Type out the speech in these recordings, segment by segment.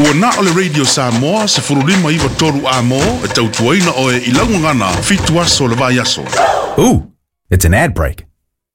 Ua na o le Radio Samoa 1593 Amo e tautuaina oe i laugagana fitu aso le vai aso. Ooh, it's an ad break.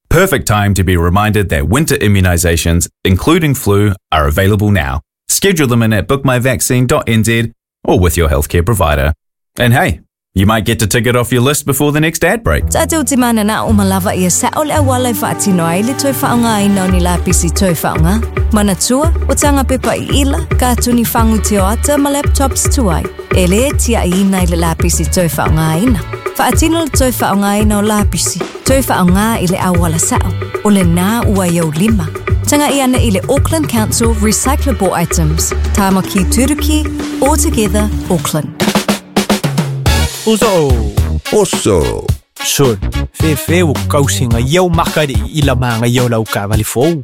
Perfect time to be reminded that winter immunizations, including flu, are available now. Schedule them in at bookmyvaccine.nz or with your healthcare provider. And hey, you might get to tick it off your list before the next ad break. Tātou te mana nā o malava ia sa o le awala e whaatino ai le toi whaonga ai nau ni lapisi toi whaonga. Mana tua, o tanga pepa i ila, ka tuni whangu te o ata ma laptops tuai. E le tia i ina i le lapisi toi whaonga aina. Whaatino le toi whaonga aina o lapisi. Toi whaonga i le awala sao. O le nā ua iau lima. Tanga i ana i le Auckland Council Recyclable Items. Tāmaki Turuki, All Together, Auckland. Uso. Oso. Sol. Fe fe o kausinga iau makari i la manga iau lau kavali fou.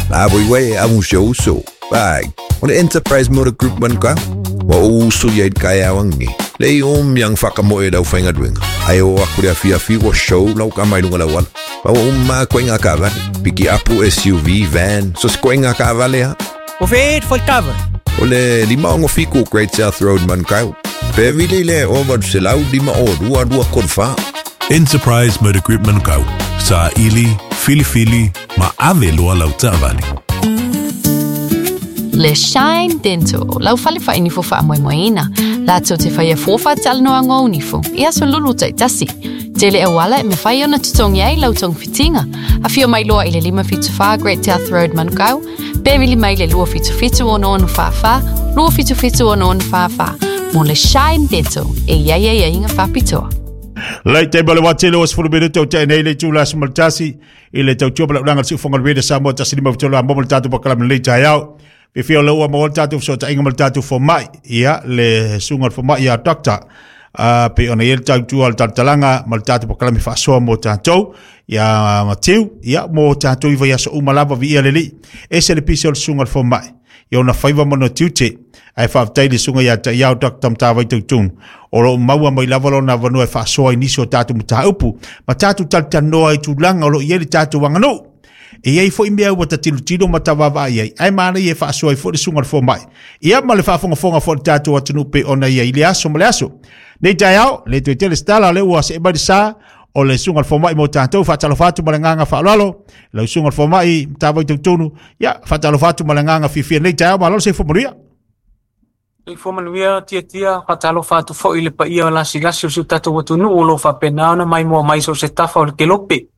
La voi wei amu se uso. Bai. O le Enterprise Motor Group man ka. Wa o uso ia i kai awangi. Le i om yang whakamoe lau whainga duenga. Ai o aku le awhi awhi wa show lau ka mai lunga lau ala. Wa o umma koe ngā kavali. Piki apu SUV, van, so se koe ngā kavali ha. O fe et fol kava. O le lima ongo fiku Great South Road man kau. Pe vile le o valu se lau lima o lua lua kolu wha. Enterprise Motor Group Manukau. Sa ili, filifili, ma ave loa lau taavale. Le Shine Dental, lau fale whainifo whaamoemoeina. Lātou te whaia fōwha talanoa ngō nifo, i aso lulu taitasi. Tele auala e me whai ona tutongi ai lau tong fitinga. A whio mai loa i le 574 Great South Road Manukau, pe vili mai le 277 ono ono whawha, 277 ono ono whawha. Mo le Shine Dental, e ia ia ia inga whapitoa. Lei te bale watele o sefulu minute o te nei le tula smaltasi i le tautua pala ulanga si ufonga le Samoa tasi lima fitolo a momo le tatou pakalame lei taeao. Fifia o le ua mo le tatou fesootaiga ma le tatou fomai ia le suga o le fomai ia Doctor uh, pe ona ia le tautua o le talatalaga ma le tatou pakalame faasoa mo tatou ia Matiu ia mo tatou i vaiaso uma lava viia le Alii. Ese le pisi o le suga o le fomai i ona faiva ma ona tiute ae faafetai le suga ia te iao Dr. Matavai Tautunu o lo o maua mai lava lona avanoa e faasoa i nisi o tatou mataupu ma tatou talatalanoa i tulaga o lo o i ai le tatou aganuu. E i ai foi mea ua ta tilotilo ma ta vaavaai ai, ae manaia e faasoa ai foi le suga o le fomai. Ia ma le faafogafoga foi a le tatou atunuu pei ona i ai i le aso ma le aso. Nei taeao, le toe tele se tala, o lea ua see mai le sa o le suga o le fomai mo tatou. Faatalofa atu ma le agaga faaaloalo, lau suga o le fomai Matavai Tautonu. Ia, faatalofa atu ma le agaga fiafia nei taeao, malo le soifua manuia. Soifua manuia Tiatia, faatalofa atu foi i le paia o lasilasi o si o tatou atunuu o lo o faapena ona maimoa mai so o se tafa o le kelope.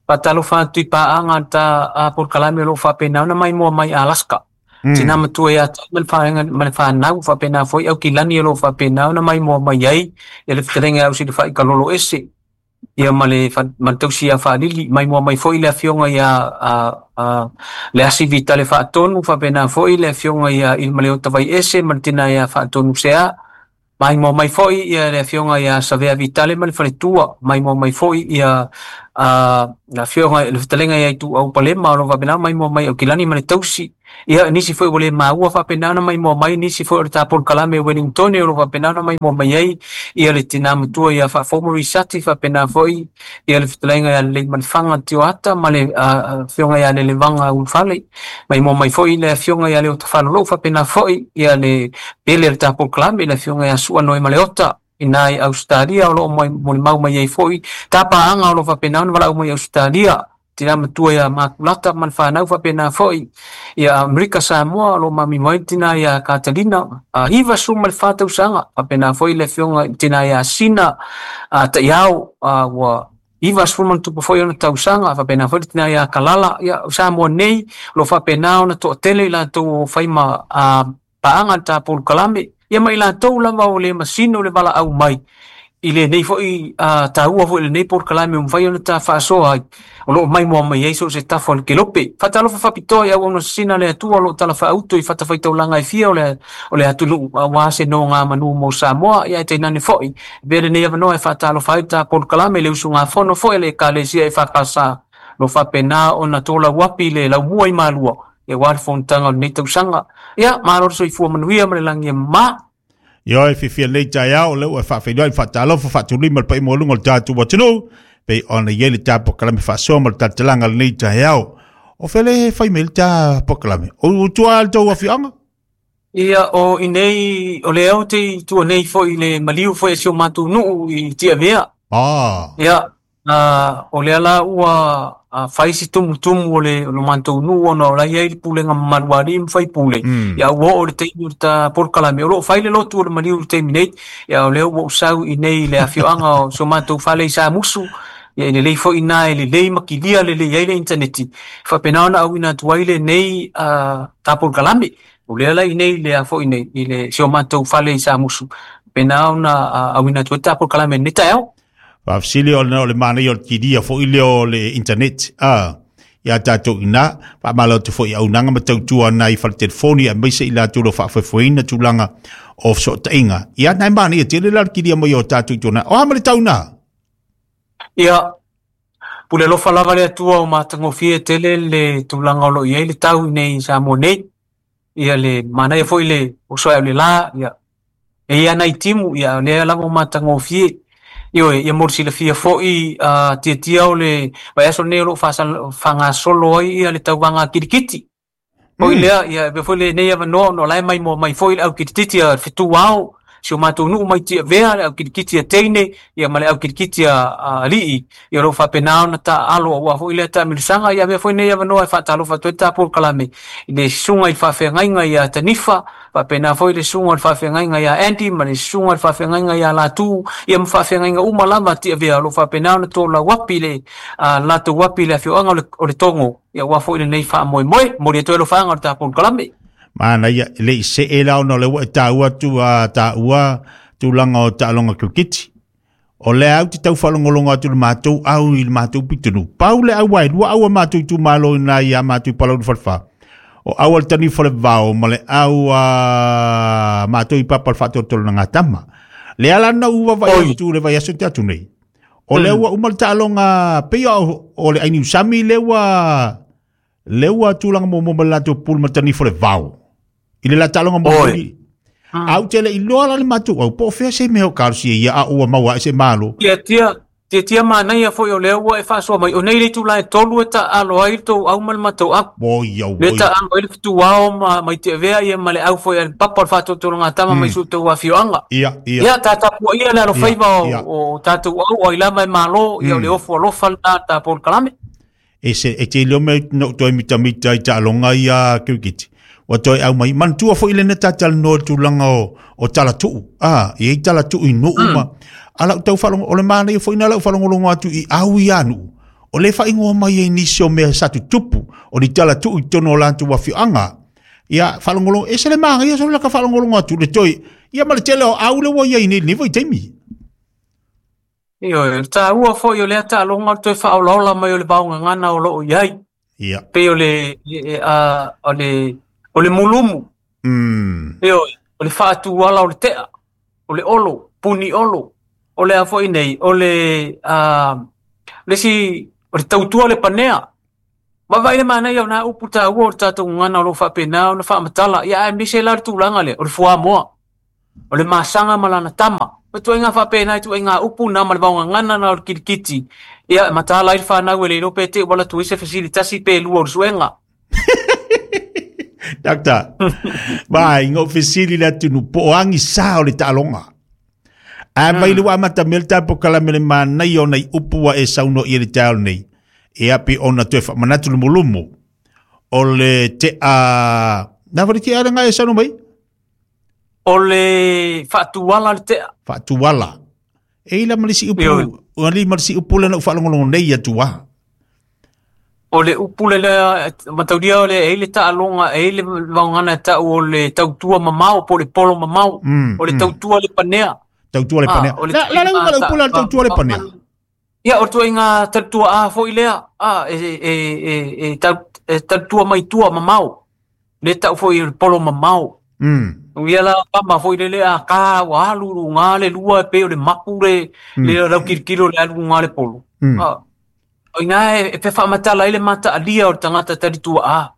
Faatalofa atu i paaga a ta a polokalame o lo o faapena ona maimoa mai Alaska. Tina matua ia te au ma le whaenga, ma le whanau, faapena foi Aukilani o lo o faapena ona maimoa mai ai ia le fetalaiga ia Ausilafai Kalolo Ese. Ia ma le ma le tausi ia Faalili, maimoa mai foi le afioga ia a a le Asi Vitale Faatonu, faapena foi le afioga ia Ilimaleota Vaiese ma le tina ia Faatonu Sea. Maimoa mai foi ia le afioga ia Savea Vitale ma le faletua, maimoa mai foi ia a le afioga le fetalaiga ia Ituau Palema o lo o faapena maimoa mai Aukilani ma le tausi. Ia nisi foi ua le maua faapena ona maimoa mai, nisi foi o le ta polokalame o Wellingtone o lo o faapena ona maimoa mai ai ia le tina matua ia Faafomo Risati, faapena foi ia le fetalaiga ia Leleimalefanga Tioata ma le afioga ia Lelevaga Ulufale. Maimoa mai foi le afioga ia Leota Falolou, faapena foi ia le pele o le ta polokalame le afioga ia Sua Noe Maleota ina i Ausetalia o lo o molimau mai ai foi ta paaga o lo o faapena ona valaau mai i Ausetalia. Tina matua ia Makulata ma le fanau faapena foi ia Amerika Samoa o lo o mamimo ai le tina ia Katalina 94 tausaga faapena foi le afioga i le tina ia Sina Taiao ua 90+ foi ona tausaga faapena foi le tina ia Kalala. Ia o Samoa nei o lo o faapena ona toatele i latou o fai ma paaga le ta polokalame ia ma i latou lava o le masino le valaau mai i lenei foi taua foi i lenei polokalame ua mafai ona ta faasoa ai o lo o maimoa mai ai so o se tafa o le kelope. Faatalofa faapitoa i auauna sisina a le Atua o lo o talafaauto i fatafaitaulaga e fia o le o le atunuu aua se nogamanu mo Samoa ia ae tainane foi e avea lenei avanoa e faatalofa ai le ta polokalame i le usugafono foi a le Ekalesia EFKS o lo o faapena ona tolauapi le laumua i Malua aua le fonotaga o lenei tausaga. Ia, malo le soifua manuia ma le lagi e mama. Ioe, fiafia lelei taeao, o lea ua e faafeiloai ma faatalofa faatulima le paia maualuga o le tatou atunuu, pei ona i ai le ta polokalame faasoa ma le talatalaga o lenei taeao. O fea le fai mai le ta polokalame? O tua le tou afioaga? Ia o i nei o le au te i tua nei foi le maliu foi e si o matou nuu i Tiavea. Ia, o lea la ua fai si tumutumu o le matou nuu ona o la e i ai le pulega mamalu a alii ma faipule. Ia ua oo i le taimi o le ta polokalame. O lo o fai le lotu o le maliu i le taimi nei. Ia o lea ua ou sau i nei i le afioaga o si o matou fale i Samusu. Ia e lelei foi ina e lelei ma kilia lelei ai le initaneti. E faapena ona auina atu ai lenei ta polokalame. O lea la i nei le a foi nei i le si o matou fale i Samusu. Faapena ona auina atu ai le ta polokalame i lenei taeao. Faafesili ona o le manaia o le kilia foi lea o le internet ia tatou ina faamalo atu foi i auaunaga ma tautua nai fale telefoni aemaise i latou o lo o faafoefoeina tulaga o fesootaiga. Ia nai manaia tele la le kilia mai o tatou i tona. O a ma le tau na? Ia, pule alofa lava le Atua o matagofie tele le tulaga o lo o i ai le tau i nei i Samoa nei. Ia le manaia foi le oso ai o le la, ia e ia nai timu, ia o lea lava o matagofie. Ioe, ia mo le silafia foi tiatia o le vaiaso lenei o lo o faagasolo ai ia le tauvaga kirikiti. Foi lea, ia e foi lenei avanoa ona o la e maimoa mai foi le au kirikiti a Fetu Ao, si o matou nuu mai Tiavea, le au kirikiti a teine, ia ma le au kirikiti a alii, ia o lo o faapena ona taaalo aua foi lea taamilosaga. Ia avea foi lenei avanoa e faatalofa atu ai le ta polokalame i le susuga i le faafeagaiga ia Tanifa, faapena foi le susuga o le faafeagaiga ia Andy ma le susuga o le faafeagaiga ia Latu, ia ma faafeagaiga uma lava a Tiavea o lo o faapena ona tolauapi le latou api i le afioaga o le Togo, ia aua foi lenei faamoemoe. Momoli atu ai alofaaga o le ta polokalame. Manaia, e le i see la ona o lea ua e taua atu a taua tulaga o taaloga kirikiti. O lea au te tau faalogologo atu i le matou au i le matou pitonuu. Pau le au ai, lua au a matou itumalo ina ia matou i Palauli Falefa. O au a le Tanifa o le Vao ma le au a matou i Papa o le Faatolotolo na Gatama. Le ala na u vaavaai atu le vaiaso te atu nei. O lea ua uma le taaloga pei o le Ainiusami lea ua le ua tulaga muamua ma le latou pulu ma le Tanifa o le Vao. I le la taaloga muamua. Au te le iloa la le matou au, po o fea se mea o kalosia ia a ua maua ai se malo. Tia tia tia manaia foi o lea ua e faasoa mai. O nei le itula e tolu e taaalo ai le tou au ma le matou au. Oi, au, Le taaalo ai le fetuao ma mai Tiavea ia ma le au foi a le Papa o le Faatolotologatama mai si o outou afioaga. Ia, ia. Ia, ta tapuaia le alofaiva o tatou au, o ai lava e malo, ia o le ofu alofa lena ta polokalame. E se e te leo me no toe mitamita i taaloga ia kirikiti. Ua toe au mai. Manatua foi lena talanoa i le tulaga o talatuu. E i ai talatuu i nuu ma a lau tau faalogo, o le manaia foi na lau faalogologo atu i au ia nuu. O le faaigoa mai ai nisi o mea sa tutupu, o ni talatuu i totonu o latou afioaga. Ia, faalogologo, e se le manaia solo la ka faalogologo atu le toe, ia ma le tele o au le ua i ai nei lenei vaitaimi. Ioe, o le taua foi o lea taaloga o le toe faaolaola mai o le vaogagana o lo o i ai. Ia. Pei o le, o le, o le mulumu. Ioe, o le faatuala o le tea, o le olo, puni olo. O le a foi nei, o le, le isi, o le tautua le panea. Vaavaai le manaia o nā upu taua o le tatou gagana o lo o faapena ona faamatala. Ia, aemaise la le tulaga lea, o le fuamoa. O le masaga ma lana tama. O ituaiga faapena, ituaiga upu na ma le vaogagana na o le kilikiti. Ia, e mataala ai le fanau e le iloa pe te i ua alu atu ai se fesili tasi pe lua o le suega. Doctor, mai ngau fesili le atunu po o agi sa o le taaloga. A mai le ua amata mea le tapo kalame le manaia o nai upu ua e saunoa i le taeao nei. E api ona toe faamanatu lumulumu. O le tea... Na whare tea le ngai e saunoa mai? O le faatuala le tea. Faatuala. E ila ma le si upu, o li ma le si upu le na ufaalogologo nei atu a. O le upu le lea, mataulia o le e i le taaloga, e i le vaogana e tau o le tautua mamao, po o le polo mamao, o le tautua le panea. Tautua le panea. La la le upu le upu le tautua le panea. Ia, o le tuaiga tautua a foi lea, a, e tautua mai tua mamao. Le tau foi o le polo mamao. Ia la tama foi le le a ka ua alu luga le lua e pei o le mapu le le lau kilokilo le alu luga le polo. O ina e pe faamatala ai le mataalia o le tagata talitua a.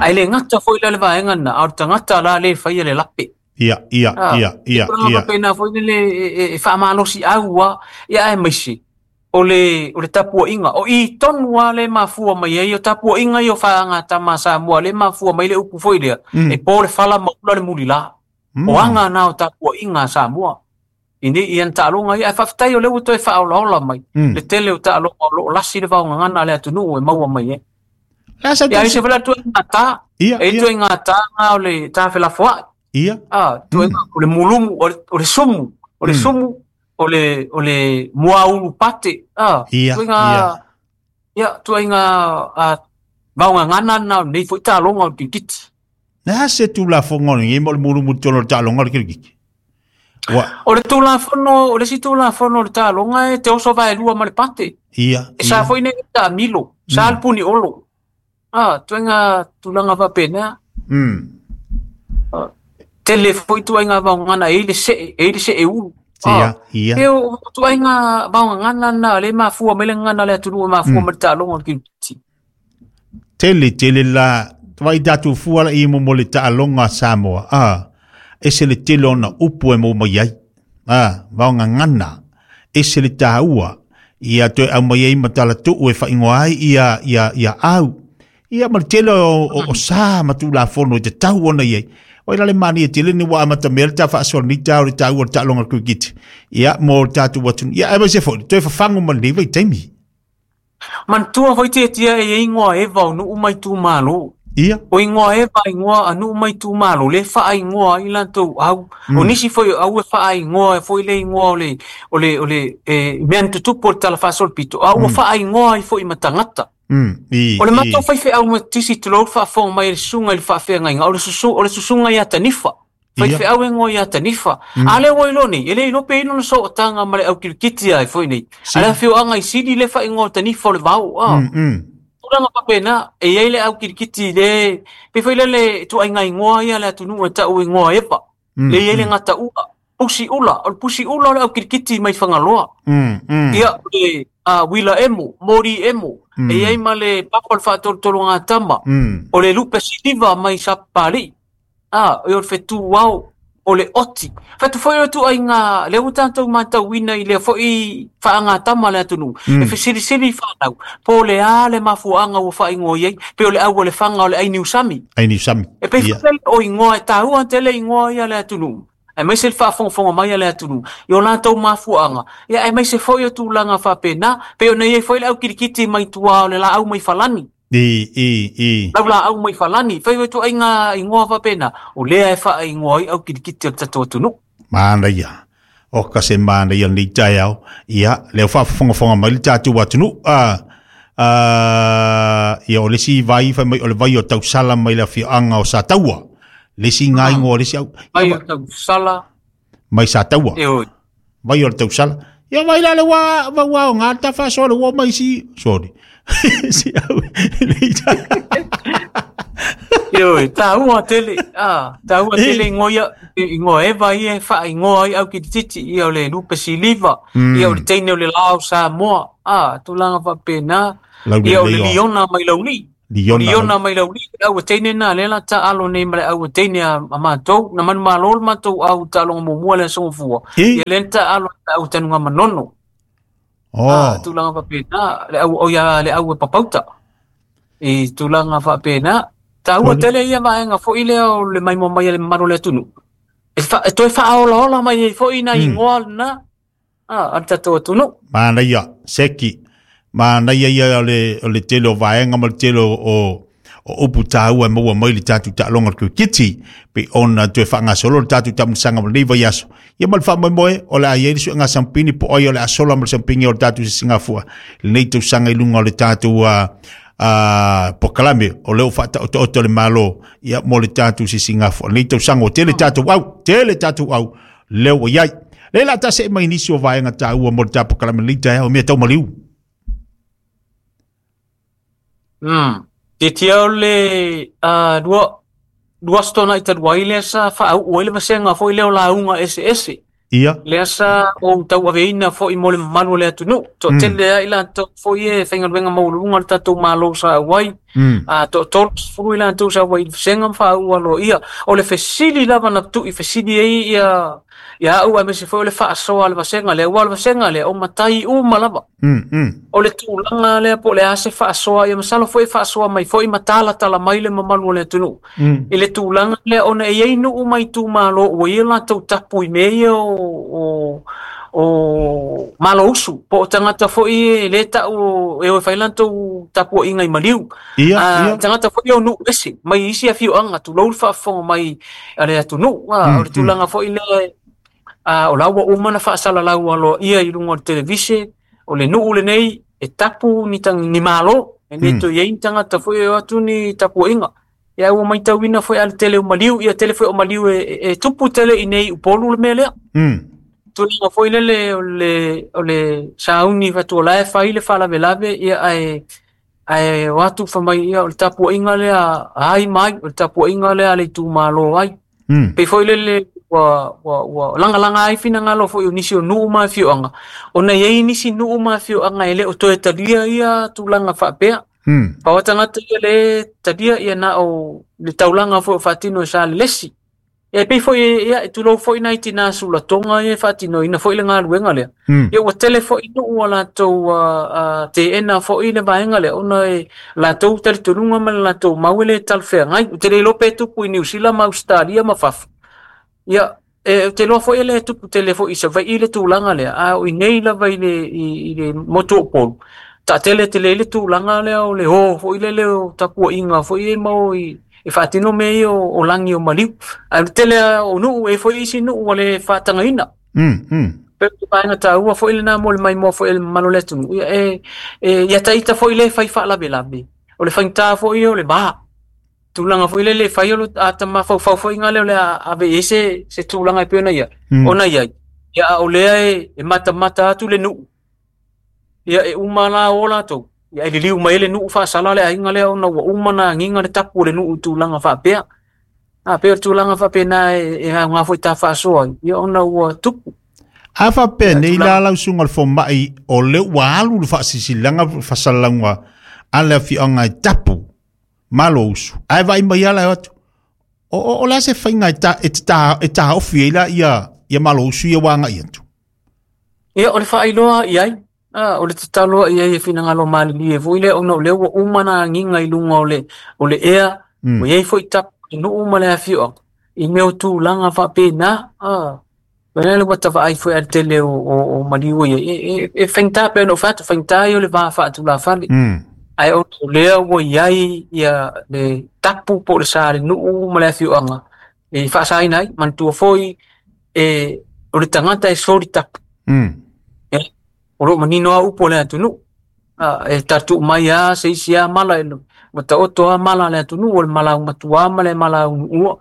Ae le gata foi la le vaega lena, a o le tagata la le faia le lape. Ia, ia, ia, ia, ia. Pena foi le e faamalosi au a, ia aemaise. O le tapuaiga o i tonu lava le mafua mai ai o tapuaiga ia o faagatama a Samoa le mafua mai le upu foi lea e po le fala ma ula le mulilā. O aga na o tapuaiga a Samoa i nei ia na taaloga ia ae faafetai o lea ua toe faaolaola mai le tele o taaloga o loo lasi le vaogagana a le atunuu e maua mai ai. Ia ai se fale atu ngata e toe ngata nga o le tafelafoai. Ia toe o le mulumu o le sumu o le sumu o le muaulu pate. Ia ia tuaiga vaogagana na nei foi taaloga o le kirikiti. Na se tulafono ni mo le mulumu tolo taaloga o le kirikiti. O le tulafono, o le si tulafono o le taaloga e te oso vaelua ma le pate. Ia. E sa foi nei taamilo, sa le puni olo. Tuaiga tulaga faapena. Tele foi tuaiga vaogagana e i le see, e i le see ulu. Ia, ia. E o tuaiga vaogagana na le mafua mai le gagana le atunuu e mafua mai le taaloga o le kirikiti. Tele, tele la, vai tatu fua la i mo le taaloga a Samoa. E se le tele ona upu e mo mai ai. Vaogagana. E se le tāua. Ia toe au mai ai matala tuu e whaingoa ai ia au. Ia ma le tele o sa matulafono i te tau ona iai. O ila le mani e tele ni wa amata mea le tā whaasoa ni tā o le tāua le taaloga le kirikiti. Ia mo le tātou atunu. Ia e mai se foi, toe whawhango ma le vai taimi. Mantua foi te tia e ingoa eva o nuu mai tū malo. Ia. O ingoa eva ingoa a nuu mai tū malo, le wha ingoa i lantou au. O nisi foi au e wha ingoa e foi le ingoa o le mea tutupu o le tala whaasol pito. A ua wha ingoa i foi matangata. O le matou faifeau ma tisi tulou faafofoga mai e le susuga i le faafeagaiga o le susuga ia Tanifa. Faifeau e ngoa ia Tanifa. A le ua iloa nei, e le iloa pe ino na sootaga ma le aukilikiti ai foi nei. A le afioaga i Sili le faaigoa o Tanifa o le vao. Tulaga faapena, e iai le aukilikiti le pe foi lele tuaiga igoa ia le atunuu e tau igoa eva. Le iai le gataua. Pusi ula, o le pusi ula o le aukilikiti mai Fagaloa. Ia o le Wila emo, Mori emo, e iai ma le papa o le faatolotologa tama, o le lupe siliva mai Sapapalii, e o le fetu ao, o le oti. Whatu foi o tuaiga, le ua tatou matauina i lea foi faagatama le atunuu, e fesilisili whanau, po le a le mafuaga ua faaigoa i ai, pe o le au o le fanga o le ai niusami. Ai niusami. E pe whakele o ingoa, e tāua tele ingoa ia le atunuu. E mai se le faafogafoga mai a le atunuu i o latou mafuaaga. Ia e mai se foi o tulaga faapena, pe ona iai foi le aukilikiti mai tua o le laau mai falani. Lau laau mai falani, fai foi tuaiga ingoa faapena, o lea e faaigoa ai aukilikiti o le tatou atunuu. Manaia. O ka se manaia nei taeao. Ia, lea faafogafoga mai le tatou atunuu. Ia o le si vai fai mai o le vai o tausala mai le afioaga o Sataua. Le si ngai ngoa le si au. Vai o tausala. Mai Sataua. Vai o le tausala. Ia vai la le wa wa o ngā ta whasoa le wa mai si. Sorry. Si au. Io, tāua tele. Tāua tele ingoa eva ia e whaingoa i au ki te titi. Ia o le lupe siliva. Ia o le teine o le lao Samoa. Tulaga faapena. Ia o le liona mai lauli. Liona mai lauli, au teine na le la ta alo nei ma le au teine a matou, na manu malo le matou au taaloga muamua le aso gafua. Ia le ta alo au tanuga manono. Tulaga faapena, le au o ia le au e papauta. I tulaga faapena, taua tele ia vaega foi lea o le maimoa mai a le mamalu o le atunuu. E toe faaolaola mai ai foi na ingoa lena a le tatou atunuu. Manaia, seki. Manaia ia o le tele o vaega ma le tele o upu tāua e maua mai le tātou taaloga o le kirikiti pe ona toe faagasolo le tātou taamilosaga ma lenei vaiaso. Ia ma le faamoemoe o le a iai le suega sampini po ai o le asola ma le sampini o le tātou sisigafua lenei tausaga i luga o le tātou pokalame o leo faataotaoto le malo ia mo le tātou sisigafua lenei tausaga o tele tātou au leo o iai. Le la tase e mai nisi o vaega tāua mo le tā pokalame lenei taeao o mea tau maliu. Te tia o le lua stona i talua i lea sa whaau o ele vasenga foi leo launga ese. Ia. Lea sa o tau aveina foi mo le mamalu o le atunuu. Toatele ai latou foi e faigaluega maualuga le tatou malo sa auai. Toatolu i latou sa auai i le vasenga ma faauu aloaia. O le fesili lava na tu'i fesili ai ia Ia au aemaise foi o le faasoa a le vasega lea, aua o le vasega lea o matai uma lava. O le tulaga lea po o le a se faasoa, ia masalo foi e faasoa mai foi ma talatala mai le mamalu o le atunuu. I le tulaga lea ona e i ai nuu ma itumalo ua i ai latou tapu i mea ia o Malousu, po o tagata foi e le tau e o e fai latou tapuaiga i maliu. Tagata foi o nuu ese mai isi afioaga, tulou le faafofoga mai a le atunuu. O le tulaga foi lea, o la ua uma na faasalalau aloaia i luga o le televise, o le nuu lenei e tapu ni malo, e le toe i ai ni tagata foi e o atu ni tapuaiga. Ia ua maitauina foi a le tele o maliu, ia tele foi o maliu e tupu tele i nei Upolu le mea lea. Tulaga foi lele o le sauni fatua la e fai le faalavelave, ia ae o atu famai ia o le tapuaiga lea ai mai, o le tapuaiga lea a le itumalo ai. Pei foi lele ua lagalagā ai finagalo foi o nisi o nuu ma afioaga, ona i ai nisi nuu ma afioaga e le o toe talia ia tulaga faapea. Pau tagata ia le talia ia na o le taulaga foi o faatino e sa lelesi. E pei foi ia e tulou foi nai tina sulatoga ia e faatinoina foi le galuega lea. Ia ua tele foi nuu a latou teena foi le vaega lea, ona e latou talitonuga ma le latou mau e le talafeagai. Ou te le iloa pe tupu i Niu Sila ma Ausetalia ma fafo. Ia e te iloa foi e le tupu tele foi i Savaii le tulaga lea, a o i nei lava i le motu o Upolu, taatele tele ai le tulaga lea o le o foi lele o tapuaiga foi e mau i e faatino mea ia o lagi o maliu. Ae o le tele o nuu e foi isi nuu ua le faatagaina. Pe o le vaega taua foi lena mo le maimoa foi e le mamalu o le atunuu. Ia ia taita foi le fai faalavelave. O le faigata foi o le va. Tulaga foi lele fai o le tamafaufau foi ngā lea o le ave i ai se tulaga e pei ona ia. Ona i ai. Ia a o lea e matamata atu le nuu. Ia e uma la o latou. Ia e liliu mai le nuu faasala le aiga lea ona ua uma na agiga le tapu o le nuu i tulaga faapea. A pei o le tulaga faapena e aoga foi ta faasoa ai, ia ona ua tupu. A faapea nei la lau susuga le fomai o le ua alu le faasisilaga fasalalauga a le afioaga e tapu Malousu. Ae vaai mai ala e atu. O le a se faiga e taofi ai la ia Malousu ia ua agai atu. Ia o le faailoa i ai. O le tatalo i ai e finagalo malilie foi lea ona o lea ua uma na agiga i luga o le ea, ua i ai foi tapu i nuu ma le afioaga i mea o tulaga faapena. Lea le ua tavaai foi a le tele o maliu ia e faigata pe ona ou fai atu, faigata ia o le va faatulafale. Ae o lea ua i ai ia le tapu po o le sa le nuu ma le afioaga e faasaina ai. Manatua foi o le tagata e soli tapu. O loo manino a upu o le atunuu. E tatuu mai a se isi a mala e ua taoto a mala a le atunuu, o le mala matua ma le mala unuua.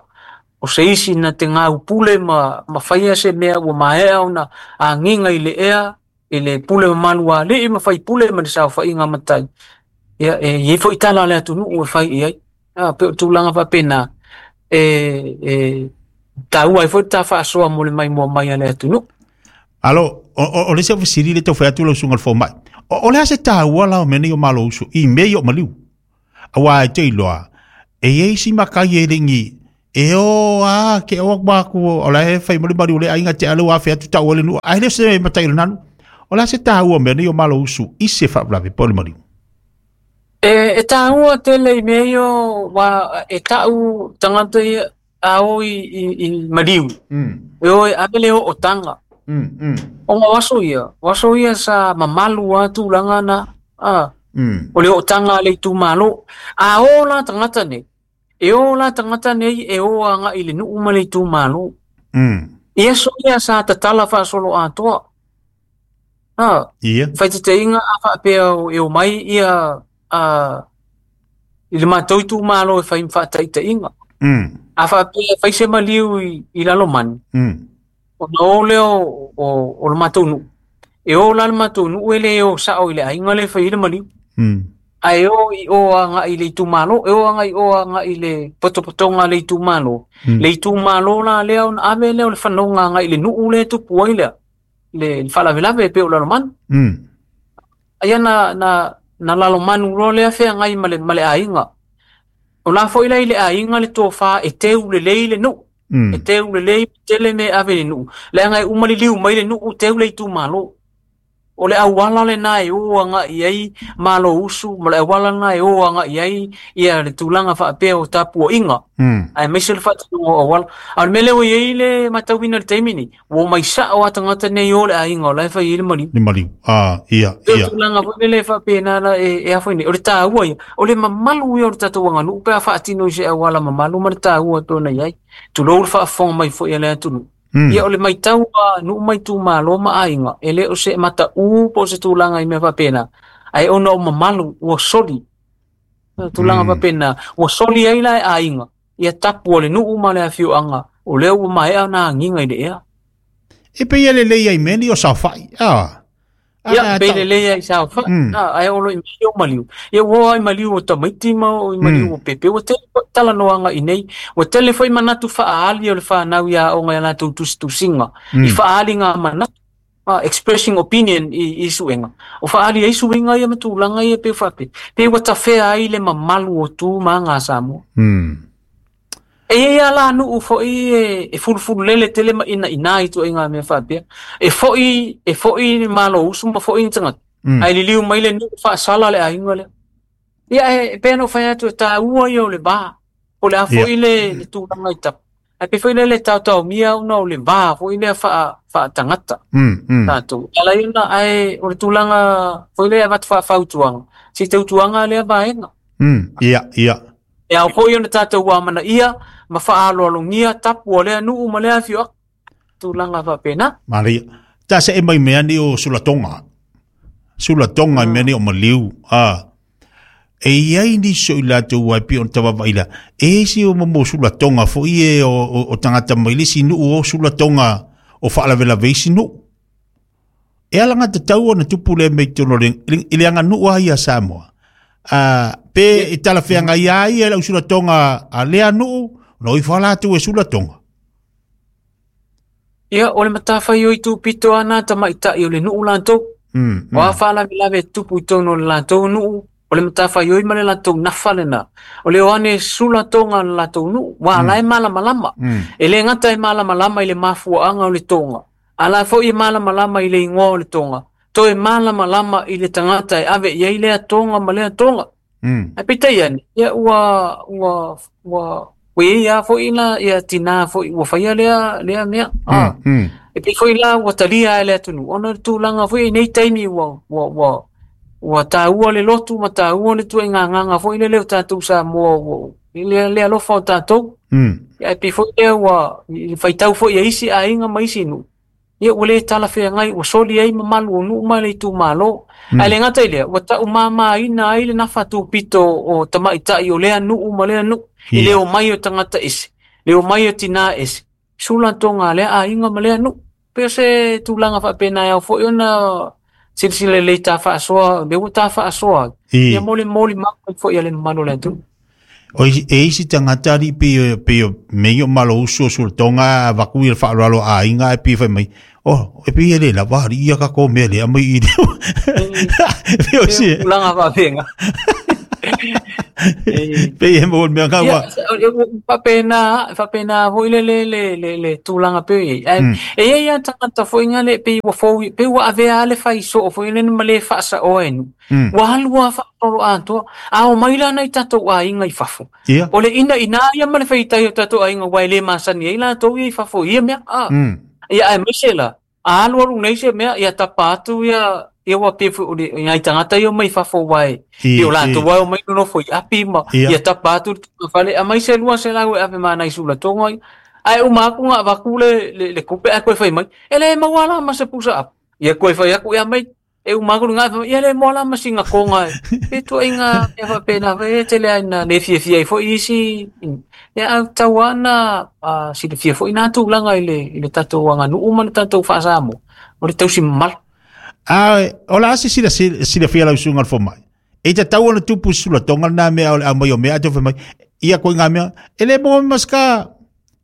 O se isi na te gaupule ma faia se mea ua maea ona agiga i le ea i le pule mamalu a alii ma faipule ma le saofaiga matai. Ia e i ai foi tala a le atunuu e fai i ai. Pe o tulaga faapena e taua ai foi le ta faasoa mo le maimoa mai a le atunuu. Alo, o le se fesili le tau fai atu lau susuga le fomai. O le a se taua la o mea nei o Malousu i mea ia o maliu. Aua e te iloa, e i ai si makai e lengi, e o a, ke o aku, o la e fai mali mali o le ainga te alu a fe atu tau o le nuu. Ai le se matai o le nanu. O le a se taua mea nei o Malousu i se faalavelave po o le maliu. E taua tele i mea ia wa e tau tagata ia a o i maliu. E o e ave le o tanga. O waso ia sa mamalu a tulaga na o le o'otaga a le itumālō. A o la tagata nei, e o la tagata nei e o aga'i i le nu'u ma le itumālō. Ia so ia sa tatala faasolo atoa. Faitaitaiga a faapea e o mai ia i le matou itumālō e fai ma faataitaiga. A faapea e fai se maliu i Lalomani, ona o lea o le matou nu'u. E o la le matou nu'u e le o sa'o i le aiga le fai i le maliu. Ae o i o aga'i i le itumālō, e o aga'i o aga'i i le potopotoga a le itumālō. Le itumālō la lea ona ave lea o le fanoga aga'i i le nu'u le tupu ai lea, le faalavelave e pei o Lalomanu. Ia na Lalomanu loa lea feagai ma le aiga. O la foi la i le aiga le tofā e teu lelei le nu'u. E teu lelei tele me ave i le nuu. Leaga e uma liliu mai le nuu teu le itumalo. O le auala lena e o agai ai malo usu ma le auala lena e o agai ai ia le tulaga faapea o tapuaiga. Aemaise le faatinoga o auala. A o le mea lea ua i ai le matauina i le taimi lenei, ua omai sao lava tagata nei o le aiga o la e fai ai le maliu. Le maliu. Ah, ia, E ia. tulaga foi lele e faapena la e a foi nei. O le taua ia, o le mamalu ia o le tatou aganuu pe a faatino i se auala mamalu ma le taua e pei ona i ai. Tulou le faafofoga mai foi a le atunuu. Ia o le matau a nuu ma itumalo ma aiga, e le o se mataū po o se tulaga i mea faapena, ae ona o mamalu ua soli. Tulaga faapena, ua soli ai la e aiga ia tapu o le nuu ma le afioaga, o lea ua maea ona agiga i le ea. E pei e lelei ai mea nei o saofai. Ah. Ia, pei lelei ai saofai. Ae o lo i mai o maliu. Ia ua o ai maliu o tamaiti ma o i maliu o pepe. Ua tele foi talanoaga i nei. Ua tele foi manatu faaali o le fanau i aoga i a latou tusitusiga. I faaaliga manatu. Expressing opinion i suega. O faaali ai suiga ia ma tulaga ia pei faapea. Pei ua tafea ai le mamalu o tu ma aga a Samoa. E i ai lava la nuu foi e fulufululele tele ma inaina i ituaiga mea faapea. E foi, e foi le malo usu ma foi ni tagata. Ae liliu mai le nuu faasala le aiga lea. Ia e pei ona ou fai atu e taua ia o le va. Po o le a foi le tulaga i tapu. Ae pei foi lea le taotaomia ona o le va foi lea faatagata. Tatou. E ala ai ona, ae o le tulaga foi lea e avatu faafautuaga, se i tautuaga lea vaega. Ia, ia. E ao foi ona tatou amanaia ma faaaloalogia tapu o lea nuu ma lea afioaga. Tulaga faapena. Manaia. Ta se e mai mea ni o sulatoga. Sulatoga i mea ni o maliu. Ah. E iai nisi o i latou ai pei ona tavavaai la. E isi o mo sulatoga foi e o tagata mai le isi nuu o sulatoga o faalavelave isi nuu. E ala alagatatau ona tupu lea mea i totonu o le, i le aganuu lava ia a Samoa. Pe e talafeagai ai ia lau sulatoga a lea nuu, ona o ifo lava latou e sulatoga. Ia, o le matafaioi tupito lava na tamaitai o le nuu latou. O a faalavelave e tupu i totonu o le latou nuu, o le matafaioi ma le latou nafa lena. O le o ane sulatoga a le latou nuu, aua o la e malamalama. E le gata e malamalama i le mafuaaga o le toga, a la foi e malamalama i le igoa o le toga, toe malamalama i le tagata e ave i ai lea toga ma lea toga. Ae peitai ane, ia ua ua ua ua i ai lava foi la ia tinā foi ua faia lea lea mea. E pei foi la ua talia e le atunuu ona o le tulaga foi i nei taimi ua ua ua ua taua le lotu ma taua le ituaiga agaga foi lele o tatou Samoa ua i le le alofa o tatou. Ia ae pei foi lea ua i le faitau foi a isi aiga ma isi nuu, ia ua le talafeagai, ua soli ai mamalu o nuu ma le itumalo. Ae le gata i lea, ua taumamaina ai le nafa tupito o tamaitai o lea nuu ma lea nuu, i le omai o tagata ese, le omai o tinā ese, sulatoga a lea aiga ma lea nuu. Pei o se tulaga faapena e ao foi ona silasila lelei ta faasoa, lea ua ta faasoa, ia mo le molimau mai foi a le mamalu o le atunuu. O e isi tagata alii pei pei o mea ia o malo usu o sulatoga a avatu ia le faaaloalo a aiga ae pei e fai mai, oh, e pei e le lava alii ia tatou mea lea mai i le pei o se tulaga faapena. Pei e maua le mea Ia, ua faapena, faapena foi le le le le le tulaga pei o i ai. Ae e i ai lava tagata foi na le pei ua fou, pei ua avea lava le fai soo foi lele ma le faasaoa e nuu. Ua alu lava faasolo atoa. A omai la nai tatou aiga i fafo, o le inaina ia ma le faitaia o tatou aiga aua e le masani ai latou ia i fafo i ia mea. Ia aemaise la, a alualu nei se mea, ia tapa atu ia ia ua pei foi o le nai tagata ia omai i fafo aua e pei o latou lava e omai nonofo i api ma ia tapa atu le tungafale, aumai se 200 e ave ma nai sulatoga ia. Ae uma atu ona avatu le tupe ae toe fai mai, e le maua la ma se pusa apu. Ia toe fai atu, ia aumai e uma atu lena, fai mai, ia le maua la ma sina toga e ituaiga mea faapena foi e tele lava ina le fiafia ai foi isi. Ia ae tatau lava ona silafia foi na tulaga i le tatou aganuu ma le tatou faa-Samoa, o le tausi mamalu. A o le a se silafia lau susuga i le fomai? E tatau ona tupu se sulatoga lena mea o le aumai o mea ae toe fai mai, ia koe ngā mea, e le maua mai ma se ka,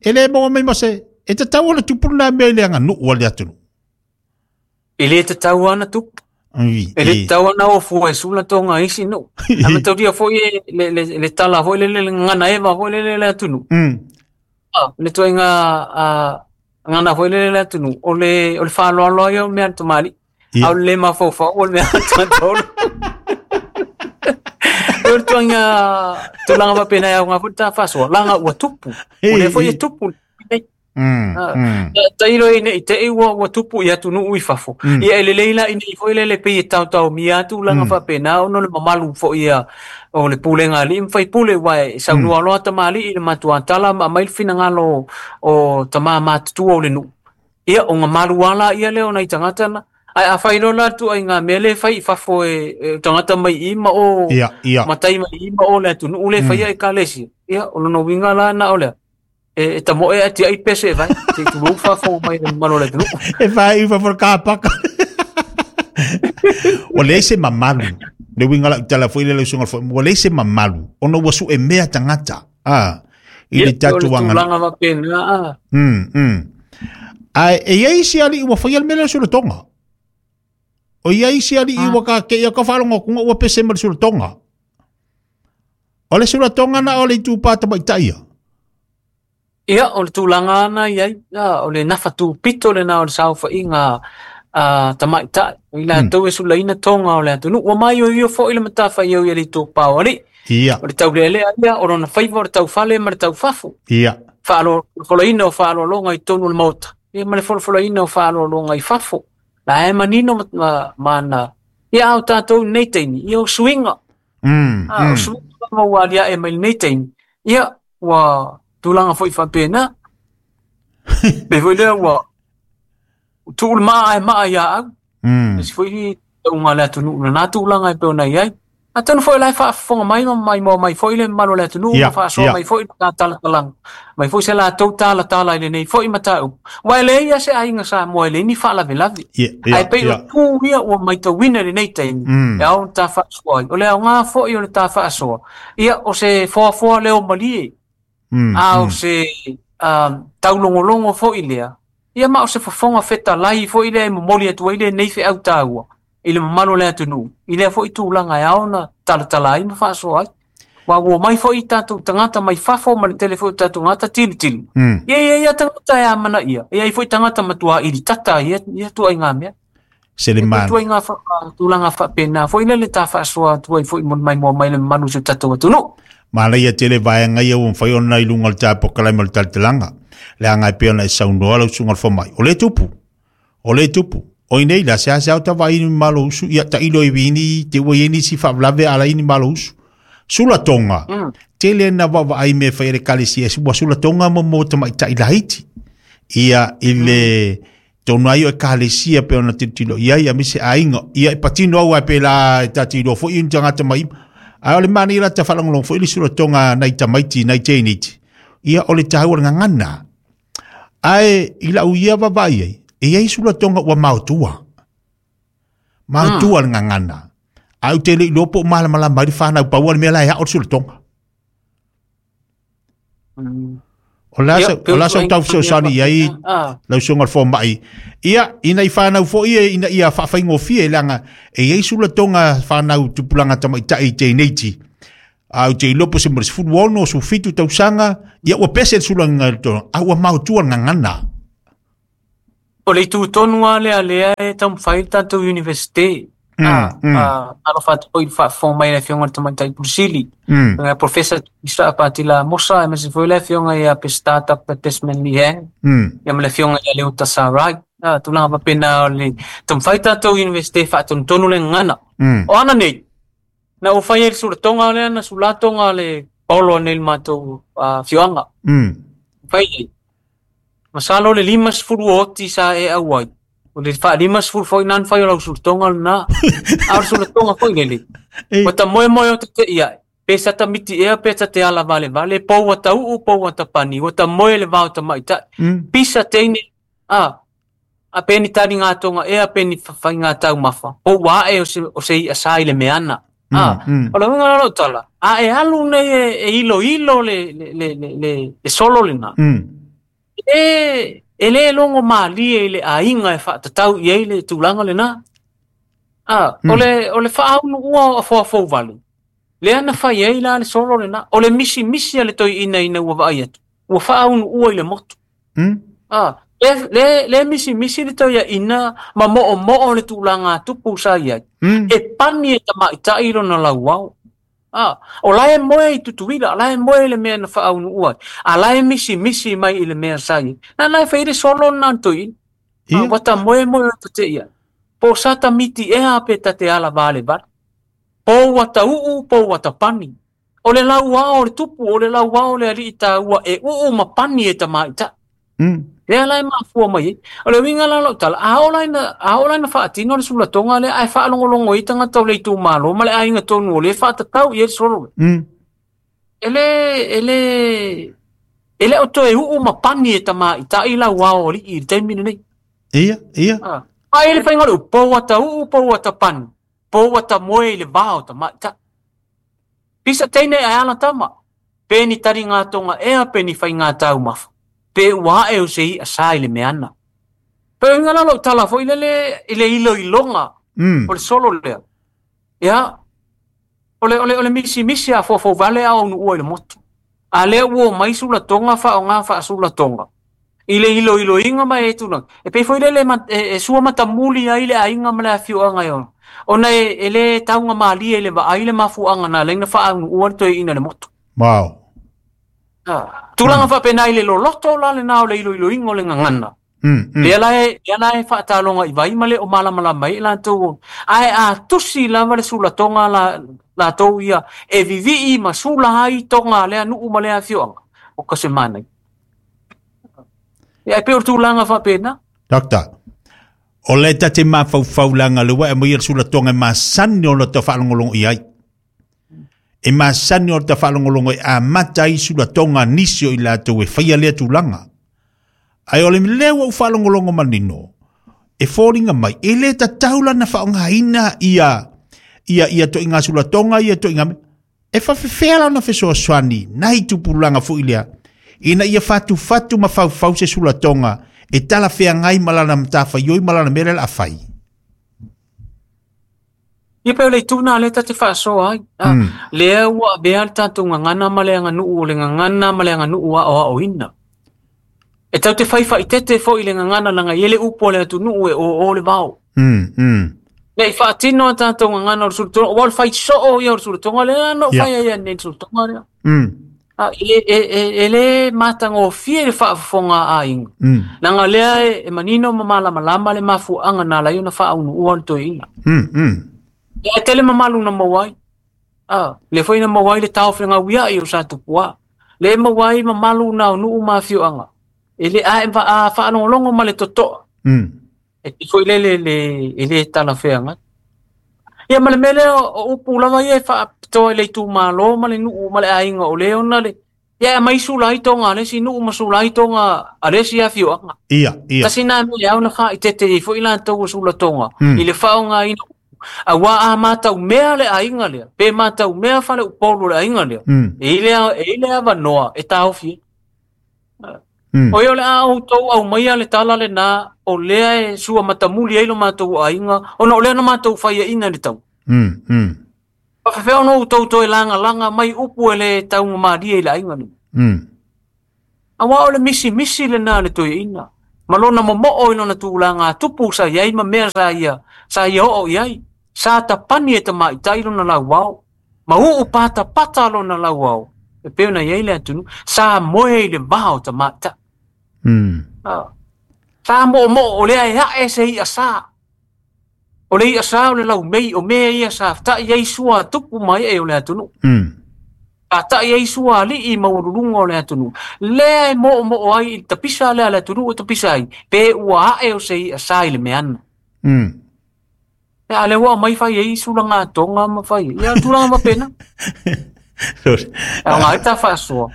e le maua mai ma se, e tatau ona tupu lena mea i le aganuu a le atunuu. E le tatau lava ona tupu. E le tatau ona o fua e sulatoga i isi nuu. Ae mataulia foi e le tala foi lele, le gagana eva foi lele i le atunuu. Le tuaiga gagana foi lele le atunuu, o le faaaloalo ia o mea a le tamalii, a o le lē mafaufau o le mea a le tagata olo. O le tuaiga tulaga faapena e aoga foi le ta faasoa, laga ua tupu. O lea foi e tupu nei. Tailo i nei te i ua tupu i atunuu i fafo. Ia e lelei la i foi lele pei e taotaomia atu laga faapena ona o le mamalu foi ia o le pulega a alii ma faipule aua e saunoa loa tamalii i le matuatala ma aumai le finagalo o tama matutua o le nuu. Ia o mamalu ala ia lea o nai tagata na. Ae afai loa la tuaiga mea le fai i fafo e tagata mai i ma o matai mai i ma o le atunuu le faia ekalesia. Ia o lona uiga la na o lea. E tamoe e ati ai pese vai, te tulou fafo mai le mamalu o le atunuu. E vai i fafo ka paka. O le se mamalu. Le uiga la tala foi le usunga foi. O le se mamalu. Ona ua su e mea tagata. I le tatou anga. Tulaga faapena. Ai e iai si ali ua fai al mele sulatoga. O iai si ali ua ka ke ia ka whalongo kunga ua pese ma le sulatoga. O le sulatoga na o le itu pāta mai taia. Ia, o le tulaga ana iai, o le nafatu pito lena o le saofaiga tamaitai. O i latou e sulaina toga o le atunuu. Ua maioio foi le matafaioi a le itupa o alii. Ia. O le taulealea ia, o lona faiva o le taufale ma le taufafo. Ia. Faalofoloina o faaaloaloga i totonu o le maota. Ia ma le folofoloina o faaaloaloga i fafo. La e manino ma ana. Ia au tātou nei taimi, ia o suiga. O suiga ma ua aliae mai lenei taimi. Ia, ua tulaga foi faapena. Pe foi lea ua tu'u le maa e maa ia au. Isi foi tauga le atunuu lena tulaga e pei ona i ai. Atonu foi la e faafofoga mai ma maimoa mai foi le mamalu o le atunuu ma faasoa mai foi le talatalaga. Mai foi se latou talatala i lenei foi mataupu. Ua e leai se aiga Samoa e leai ni faalavelave. Ae pei o tu ia ua maitauina i lenei taimi e ao ona ta faasoa ai. O le aoga foi o le ta faasoa. Ia o se foafoa leo malie. A o se taulogologo foi lea. Ia ma o se fofoga fetalai foi lea e momoli atu ai lenei feau taua i le mamalu o le atunuu. I lea foi tulaga e ao ona talatala ai ma faasoa ai. Ua ua mai foi tatou tagata mai fafo ma le tele foi o tatou tagata tilotilo. Ia ia ia tagata e amanaia. Ia ai foi tagata matua ili tata ia ia tuaiga mea. Se le man. Tuaiga tulaga faapena foi lele ta faasoa atu ai foi mo le maimoa mai le mamalu o si o tatou atunuu. Mana ia tele vaenga ia ua mafai ona i luga o le tapokalai ma le talatalaga. Le aga e pei ona e saunoa lau susuga o le fomai. O le tupu. O le tupu. O inei la se ase au tavai ni malo usu ia tailo i vini te ua i nisi faavlave ala i ni malo usu. Sulatoga. Tele na vaavaai me fai le kalesia ua sulatoga mo mo tamaitai laiti. Ia i le tonu ai o e kalesia pe ona tilotilo iai a mise aiga. Ia e patino au ai pe la e tatilo foi ni tagata mai. A o le mani la ta whalangolong foi le sulatoga nai tamaiti nai teiniti. Ia o le taua le ngangana. Ae i lau ia vavai ai, e iai sulatoga ua maotua. Maotua le ngangana. Au te le iloa po o malamalama ai le whanau paua le mea la e ao le sulatoga. O la Ia, sa pe o la sa tuaiga tau fesoasoani mea iai faapena. lau susuga o le fomai. Ia ina i whanau foi e ina ia whaawhaingofie leaga e iai sulatoga whanau tupulaga tamaitai i teineiti. Au te iloa po se mo le 16 o 17 tausaga, ia ua pese le sulaga i le tulaga, a ua maotua le gagana. O le itu tonu lava lea lea e taumafai le tatou universite. Alofa atu foi i le faafofoga mai le afioga i le Tamaitai Pulisili. Nga Professor Isa Patila Mosa, aemaise foi le afioga ia Pesita Dr. Desmond Lihang. Ia ma le afioga ia Leo Tasarai. Tulaga faapena o le taumafai tatou universite faatonutonu le gagana. O ana nei, na ua fai ai le sulatoga lea na sulatoga le paolo nei le matou afioaga. Fai ai. Masalo le 50 oti sa e au ai. O le 50 foi nani fai o lau sulatoga lena. A o le sulatoga foi lele. Ua ta moemoe o te te ia. Pe sa ta miti ea, pe sa te ala vale vale. Pou ua ta uu, pou ua ta pani. Ua ta moe le vao ta maitai. Pisa teine. A pe ni tari ngā tonga ea, pe ni whai ngā taumafa. Pou ua ae o se i asa i le meana. O le uiga la lau tala. A e alu nei e ilo ilo le solo lena. E le longo malie i le aiga e faatatau i ai le tulaga lena. O le faaunu ua o afoafou vale. Lea na fai ai la le solo lena. O le misi misi a le toeaina ina ua vaai atu. Ua faaunuua i le motu. Le, le misimisi le toeaina ma moomoo le tulaga tupu sa i ai. E pani e tamaitai lona lauao. O la e moe i Tutuila, la e moe i le mea na faaunuua ai. A la e misimisi mai i le mea sa i ai. Na la e fai le solo na le toeaina. Ua ta moe moe o tate ia. Po sa ta miti ea pe ta te ala vale vale. Po ua ta uu, po ua ta pani. O le lauao o le tupu, o le lauao o le alii taua e uu ma pani e tamaitai. Lea la e mafua mai ai. O le uiga la o lau tala, a oo la ina, a oo la ina faatino le sulatoga lea ae faalogologo ai tagata o le itumalo ma le aiga tonu o lea e faatatau i ai le solo lea. E le, e le, e le o toe uu ma pani e tamaitai lauao o alii i le taimi lenei. Ia, ia. Ai le faiga o le upu, po ua ta uu, po ua ta pani, po ua ta moe i le va o tamaitai. Pisa teine ae ala tama, pe ni taliga ea pe ni faiga taumafa, pe ua ae o se i'a sa i le meana. Pe uiga la lou tala foi lele i le iloiloga o le solo lea. Ia, o le misimisi a foafoauvale a aunuua i le motu. A lea ua omai sulatoga faaaoga faasulatoga i le iloiloiga ma e tulaga. E pei foi lele e sua matamuli ai le aiga ma le afioaga e ona. Ona e le taugamalie i le vaai le mafuaaga na ala ai ona faaunuua le toeaina i le motu. Wow. Tulaga faapena i le loloto la lena o le iloiloiga o le gagana. Lea la e, lea la e faataloga i vai ma le o malamalama ai i latou. Ae a tusi lava le sulatoga la latou ia e vivii ma sula ai toga a lea nuu ma lea afioaga, o ka se manaia. Ia, e pei o le tulaga faapena. Doctor, o le ta te mafaufau leaga le ua e aumai le sulatoga e masani ona tau faalogologo i ai. E masani ona tau faalogologo e amata ai sulatoga a nisi o i latou e faia lea tulaga. Ae o le lea ua ou faalogologo manino, e foliga mai, e le tatau la ona faaaogaina ia ia ia toiga sulatoga ia toiga mea. E faafefea la ona fesoasoani nai tupulaga foi lea ina ia fatufatu ma faufau se sulatoga e talafeagai ma lana matafaioi ma lana mea lea o le a fai. Ia pei o le itu lena lea ta te faasoa ai. Lea ua avea le tatou gagana ma le aganuu o le gagana ma le aganuu aoaoina. E tatou te fai faaeteete foi i le gagana leaga e i ai le upu a le atunuu e oo le vao. Ne i faatino a tatou gagana o le sulatoga, aua o le fai soo ia o le sulatoga lea na ou fai ai nei i le sulatoga lea. E le matagofie le faafofoga a aiga. Leaga lea e manino ma malamalama le mafuaaga na ala ai ona faaunuua le toeaina. E tele mamalu na maua ai. Lea foi na maua ai le taofegauiai o Satupuā. Lea e maua ai mamalu na o nuu ma afioaga. E le a e faalogologo ma le totoa. E pei foi lele e le talafeagai. Ia ma le mea lea o upu lava ia e faapitoa i le itumalo ma le nuu ma le aiga o le ona le ia e aumai sula ai toga a le isi nuu ma sula ai toga a le isi afioaga. Ia, ia. Tasi na mea e ao ona faaeteete ai foi latou o sulatoga i le faaaogaina aua a mataumea le aiga lea, pe mataumea faleupolu o le aiga lea, e i ai le avanoa e taofi ai. O ia o le a outou aumaia le tala lena o lea e sua matamuli ai lo matou aiga ona o lea na matou faiaina i le tau. Faafefea ona outou toe lagalaga mai upu e le taugamalie i le aiga lenei. Aua o le misimisi lena a le toeaina ma lona momoo i lona tulaga tupu sa i ai ma mea sa ia oo i ai. Sa tapani e tamaitai lona lauao ma uu patapata lona lauao e pei ona i ai le atunuu. Sa moe i le va o tamaitai. Sa moomoo o lea e ae se i'a sa. O le i'a sa o le laumei o mea ia sa ta'i ai sua tupu mai e o le atunuu. Sa ta'i ai sua alii maualuluga o le atunuu. Lea e moomoo ai i le tapisa lea a le atunuu e tapisa ai, pe ua ae o se i'a sa i le meana. Ia, a lea ua aumai fai ai sulaga toga ma fai ai. Ia, tulaga faapena. Ae o ngā ta faasoa,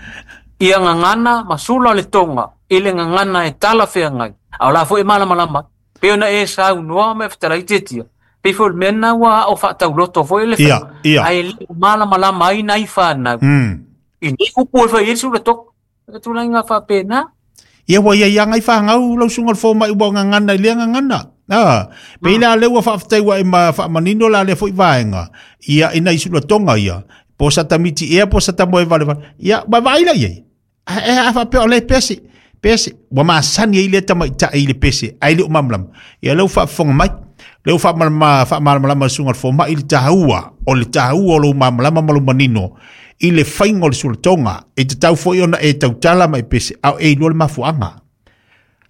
ia gagana ma sula le toga i le gagana e talafeagai. A o la foi e malamalama ai. Pei ona e saunoa ma e fetalai Tiatia, pei foi o le mea lena ua ao faatauloto foi le Ia, ia. Ae le o malamalama ai nai fanau. I nei upu e fai ai le sula toga. E tulaga faapena. Ia ua ia ia ngai whangau lau sunga le fōmai ua ngangana i lea ngangana. Pe ila le ua whaafetai ua e ma whaamanino la le foi vaenga. Ia ina i sula tonga ia. Po sa tamiti ea, po sa tamoe vale vale. Ia, ma vaai la iai. A faapea o le pese, pese, ua masani ai lea tamaitai i le pese, ae le o malamalama. Ia lea ua faafofoga mai, lea ua faamalamalama le susuga i le fomai i le taua, o le taua o lou malamalama ma lou manino i le faiga o le sulatoga. E tatau foi ona e tautala ma e pese, a o e iloa le mafuaaga.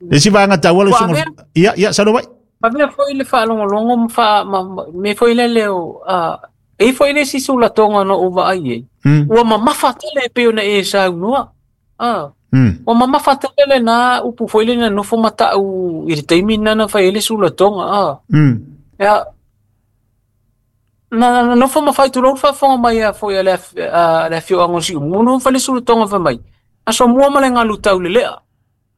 Le isi vaega taua lau susuga. Ia, ia, saunoa mai. Avea foi le faalogologo ma mea foi lele o e i ai foi le isi sulatoga na ou vaai i ai. Ua mamafa tele e pei ona e saunoa. Ua mamafa tele lena upu foi lele na nofo ma ta'u i le taimi lena na fai ai le sulatoga. Ia, na nofo ma fai tulou le faafofoga mai a foi a le afioaga o Siumu, na fai le sulatoga fai mai, aso mua ma le galu taulelea.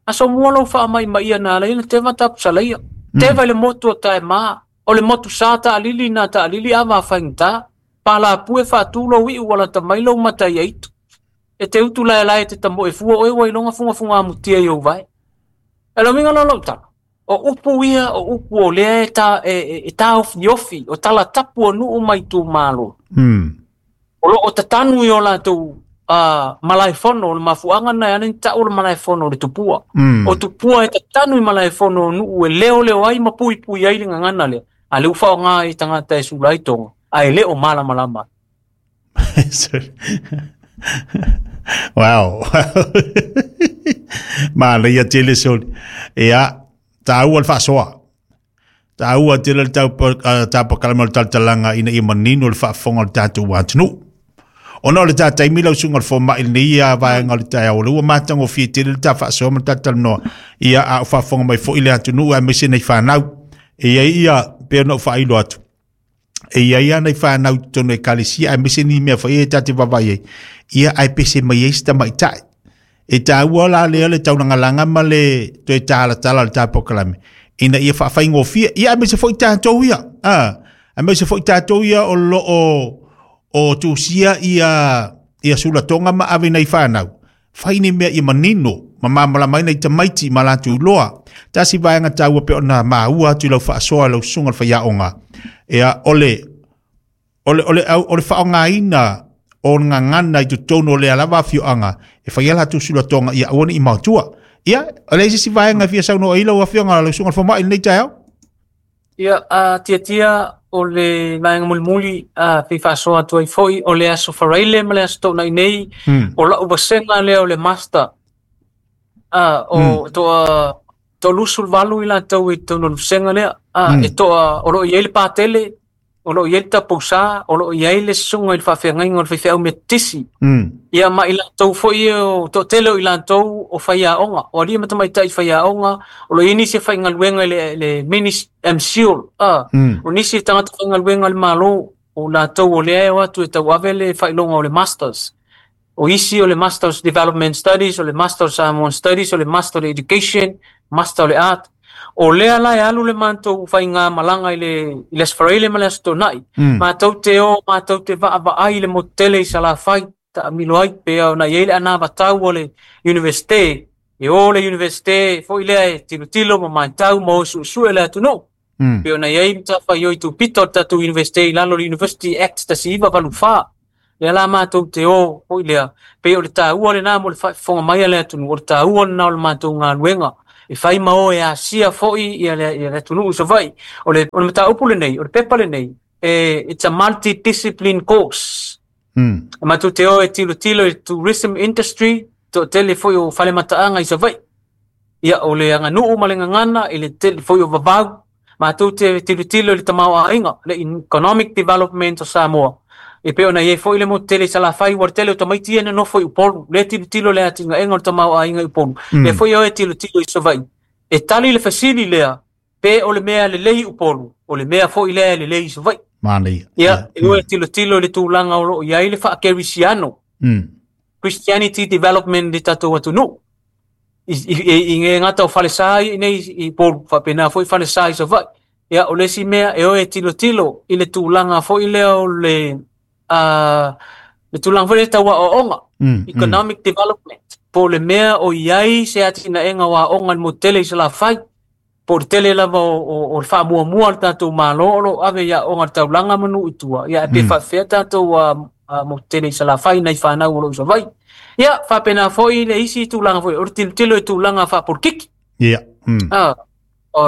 Aso mua lou faamaimaia na ala ai ona teva tapusalaia. Teva i le motu o Taema, o le motu sa taalili na taalili ava a faigata. Palapue faatu lou iu alata mai lou mata i aitu. E te utu laelae te tamoe fua oe ua iloga fugafuga amutia i ou vae. E lau uiga la o lau tala, o upu ia o upu o lea e taofiofi, o tala tapu o nuu ma itumalo. O loo tatanu i o latou malaefono, o le mafuaaga na e ala ai ona tau o le malaefono o le tupua. O tupua e tatanu i malaefono o nuu e leoleo ai ma puipui ai le gagana lea, a le ua faaaoga ai tagata e sula ai toga, ae le o malamalama. Wow. Manaia tele soli. Ia, taua le faasoa. Taua tele le tapakalama o le talatalaga ina ia manino le faafofoga o le tatou atunuu. Ona o le ta taimi lau susuga i le fomai i lenei vaega o le taeao, o lea ua matagofie tele le ta faasoa ma le talatalanoa, ia a o faafofoga mai foi le atunuu aemaise nei fanau. E i ai ia, pei ona ou faailo atu, e i ai lava nai fanau i totonu o ekalesia aemaise ni mea foi e ta te vaavaai ai, ia ae pese mai ai si tamaitai. E taua la lea le taulagalaga ma le toe talatala o le ta polokalame ina ia faafaigofie, ia aemaise foi tatou ia, aemaise foi tatou ia o lo o tusia ia sulatoga ma ave nai fanau, fai ni mea ia manino ma malamalama ai nai tamaiti ma latou iloa. Tasi vaega taua pei ona maua atu i lau faasoa i lau susuga i le faiaoga, ia o le faaaogaina o le gagana i totonu o lea lava afioaga e fai ai latou sulatoga ia aua ne i maotua. Ia, o le a se isi vaega e fia saunoa ai lau afioga lau susuga i le fomai i lenei taeao? Ia, tiatia o le vaega mulimuli fia faasoa atu ai foi o le aso Faraile ma le aso Toonai nei, o lau vasega lea o le master. O toa 38 i latou i totonu o le vasega lea. E toa, o lo o i ai le patele, o lo o i ai le tapousa, o lo o i ai le susuga i le faafeagaiga o le faifeau metotisi. Ia ma i latou foi o toatele o i latou o faiaoga, o alii ma tamaitai faiaoga, o lo o i ai nisi e faigaluega i le MCIL, o nisi e tagata faigaluega i le Malo, o latou o lea e o atu e tauave le faailoga o le Masters. O isi o le Masters Development Studies, o le Masters Samoan Studies, o le Master Education, Master o le Art. O lea la e alu le matou faigamalaga i le Aso Faraile ma le Aso Toonai. Matou te o, matou te vaavaai i le motu tele i Salafai, taamilo ai, pe ona i ai le anavatau o le Universite, e o le Universite foi lea e tilotilo ma matau ma o suesue le atunuu. Pe ona i ai matafaioi tupita o le tatou Universite i lalo o le University Act 1984. Lea la matou te o foi lea, pei o le taua lena mo le faafofoga mai a le atunuu, o le taua lena o le matou galuega. E fai ma o e asia foi ia le atunuu i Savaii. O le mataupu lenei, o le pepa lenei, it's a multidiscipline course. E matou te o e tilotilo i tourism industry, toatele foi o falemataaga i Savaii. Ia, o le aganuu ma le gagana, i le tele foi o vavau. Matou te tilotilo i le tamaoaiga, le economic development o Samoa. E pei ona i ai foi le motu tele i Salafai, ua le tele o tamaiti ia na nofo i Upolu. Lea tilotilo le atinaega o le tamaoaiga i Upolu. Lea foi o e tilotilo i Savaii. E tali le fesili lea, pe o le mea lelei i Upolu, o le mea foi lea e lelei i Savaii. Manaia. Ia, e o e tilotilo i le tulaga o loo i ai le faakerisiano. Christianity development i tatou atunuu. I nge ngata o falesa i nei i Upolu, faapena foi falesa i Savaii. Ia, o le isi mea e o e tilotilo i le tulaga foi lea o le tulaga foi lea tau aoaoga, economic development. Po o le mea o i ai se atinaega o aoga i le motu tele i Salafai, po o le tele lava o le faamuamua o le tatou Malo o lo o ave i aoga i le taulaga ma nuu i tua, ia, e pe faapefea tatou Motu tele i Salafai nai fanau o lo o i Savaii. Ia, faapena foi le isi tulaga foi o le tilotilo i tulaga faapolitiki. Ia.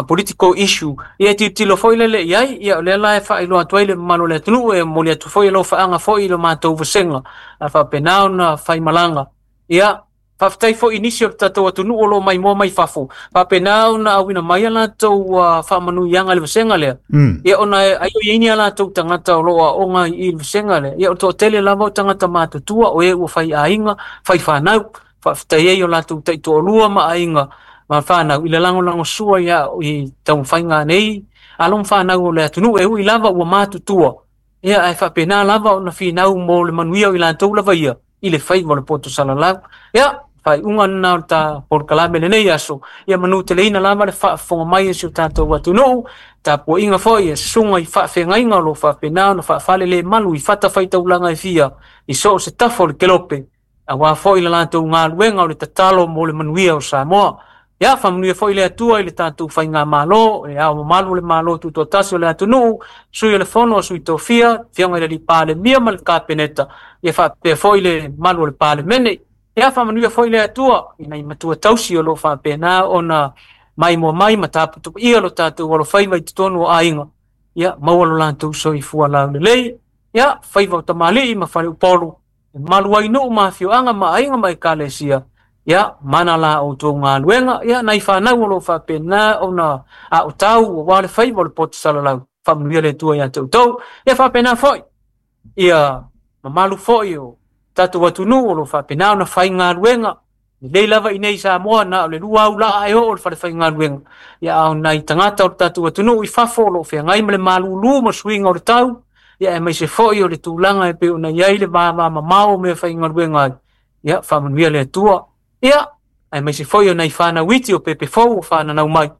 Political issue. Ia e tilotilo foi lele i ai, ia o lea la e faailoa atu ai le mamalu o le atunuu, e momoli atu foi alofaaga foi i lo matou vasega, a faapena ona faimalaga. Ia, faafetai foi i nisi o le tatou atunuu o lo o maimoa mai fafo, faapena ona auina mai a latou faamanuiaga i le vasega lea. Ia ona ai o i ai ni a latou tagata o lo o aoga i le vasega lea. Ia o le toatele lava o tagata matutua o e ua fai aiga, fai fanau, faafetai ai o latou taitoalua ma aiga ma fanau i le lagolagosua i taumafaiga nei alo ma fanau o le atunuu e ui lava ua matutua. Ia ae faapena lava ona finau mo le manuia o i latou lava ia i le faiva o le poto salalau. Ia, faaiuga lena o le ta polokalame lenei aso. Ia manuteleina lava le faafofoga mai e si o tatou atunuu, tapuaiga foi e susuga i faafeagaiga o lo o faapena ona faafalelemalu i fatafaitaulaga e fia i so o se tafa o le kelope, aua foi le latou galuega o le tatalo mo le manuia o Samoa. Ia, faamanuia foi le Atua i le tatou faigamalo, e ao mamalu o le Malo Tutoatasi o le atunuu, sui o le Fono a Sui Tofia, Afioga i le Alii Palemia ma le Kapeneta, ia faapea foi le mamalu o le Palemene. Ia, faamanuia foi le Atua i nai matua tausi o lo o faapena ona maimoa mai ma taputapuia lo tatou alofaiva i totonu o aiga. Ia, maua lo latou soifua laulelei. Ia, faiva o tamalii ma faleupolu, e malu ai nuu ma afioaga ma aiga ma ekalesia. Ia, mana la outou galuega. Ia, nai fanau o lo o faapena ona aotau aua le faiva o le poto salalau. Faamanuia le Atua ia te outou. Ia, faapena foi ia mamalu foi o tatou atunuu o lo o faapena ona faigaluega. Lelei lava i nei Samoa na o le 2 aulaa e oo o le fale faigaluega. Ia, a o nai tagata o le tatou atunuu i fafo o lo o feagai ma le malūlū ma suiga o le tau. Ia, aemaise foi o le tulaga e pei ona i ai le vavamamao o mea faigaluega ai. Ia, faamanuia le Atua. Ia, aemaise foi o nai fanau iti o pepe fou o fananau mai.